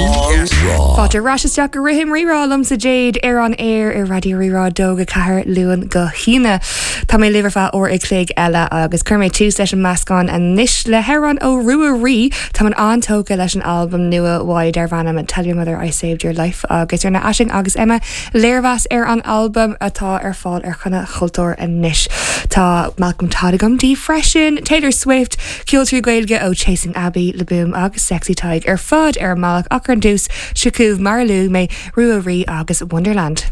Rá. Fáilte ar ais isteach go Rithim Rí-Rá liomsa Jade ar an aer ar Raidió Rí-Rá 2-4 Luan go hAoine. Tá mé libh ar feadh uair a chloig eile agus cuirfidh mé tús leis an meascán anois le hamhrán ó Ruaidhrí. Táim an-tógtha leis an albam nua uaidh darb ainm Tell Your Mother I Saved Your Life agus rinne Aisling agus Emma léirmheas ar an albam atá ar fáil ar Choinne Chultúir anois. Tá Malcolm Todd agam daoibh freisin, Taylor Swift, Ceol 3 Gaeilge ó Chasing Abbey, Le Boom agus Sexy Tadhg ar fad ar an mbealach ach ar dtús, seo chugaibh mar a luaigh mé, Ruaidhrí agus Wonderland.